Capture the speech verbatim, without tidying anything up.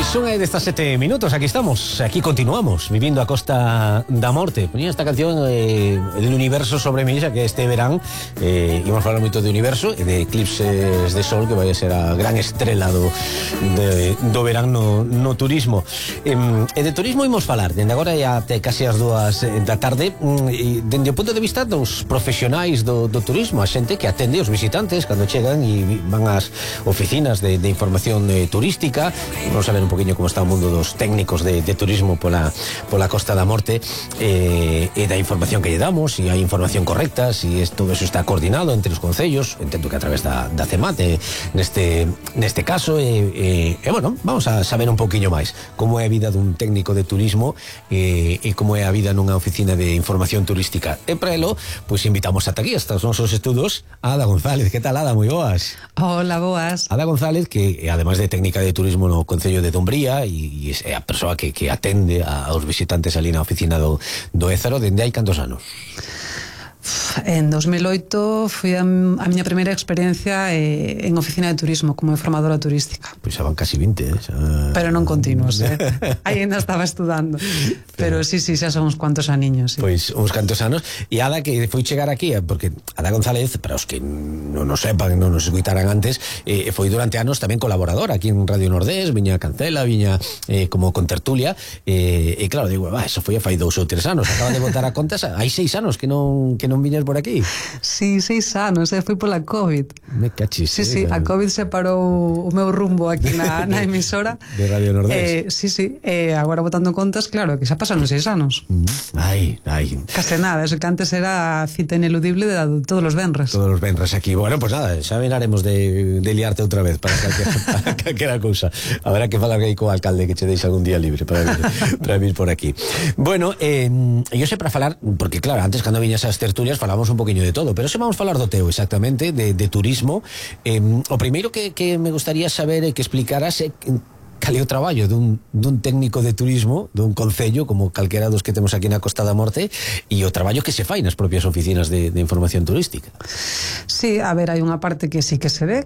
Son e dezasete minutos, aquí estamos, aquí continuamos, vivindo a Costa da Morte. Ponía esta canción eh, del universo sobre mí, xa que este verán eh, íbamos falar moito de universo e de eclipses de sol, que vai a ser a gran estrela do, de, do verán no, no turismo. E, e de turismo imos falar, dende agora e até casi as dúas da tarde, e dende o punto de vista dos profesionais do, do turismo, a xente que atende os visitantes cando chegan e van ás oficinas de, de información eh, turística. Vamos a ver un poquinho como está o mundo dos técnicos de, de turismo pola, pola Costa da Morte, eh, e da información que lle damos, se hai información correcta, se si todo eso está coordinado entre os concellos, entendo que a través da, da CEMAT neste, neste caso, e, e, e bueno, vamos a saber un poquinho máis como é a vida dun técnico de turismo e, e como é a vida nunha oficina de información turística. E para elo, pois invitamos ata aquí, hasta os nosos estudos, a Ada González. Que tal, Ada? Moi boas. Hola, boas. Ada González, que ademais de técnica de turismo no Concello de Dumbría, e é a persoa que, que atende aos visitantes ali na oficina do, do Ézaro, dende hai cantos anos? En dos mil oito fui a, a miña primeira experiencia eh, en oficina de turismo como informadora turística. Pois xa van casi vinte, eh? Xa... Pero non continuos, eh? Aí ainda estaba estudando. Pero sí, sí, xa son uns cuantos aniños, sí. Pois uns cantos anos. E Ada, que foi chegar aquí, porque Ada González, para os que non nos sepan, non nos escuitaran antes, eh, foi durante anos tamén colaboradora aquí en Radio Nordés, viña a Cancela, viña eh, como con tertulia, eh, e claro, digo, bah, eso foi a fai dous ou tres anos, acaba de botar a contas, hai seis anos que non que non viñas por aquí. Sí, seis anos, eh, foi pola COVID. Me cachis. Sí, sí, a COVID se parou o meu rumbo aquí na, na emisora de Radio Nordés. Eh, sí, sí, eh, agora botando contas, claro, que xa pasaron seis anos. Ai, ai. Case nada, eso que antes era a cita ineludible de, de todos los venres. Todos los venres aquí. Bueno, pues nada, xa venaremos de, de liarte outra vez para calquera, para calquera cousa. Habrá que falar aí co alcalde que che deixe algún día libre para vir, para vir por aquí. Bueno, eh, yo sei para falar, porque claro, antes cando viñas as tertulias falamos un poquinho de todo, pero se vamos falar do teu exactamente, de, de turismo. Eh, o primeiro que, que me gustaría saber é que explicaras é cal é o traballo dun, dun técnico de turismo dun concello como calquera dos que temos aquí na Costa da Morte, e o traballo que se fai nas propias oficinas de, de información turística. Sí, a ver, hai unha parte que sí que se ve,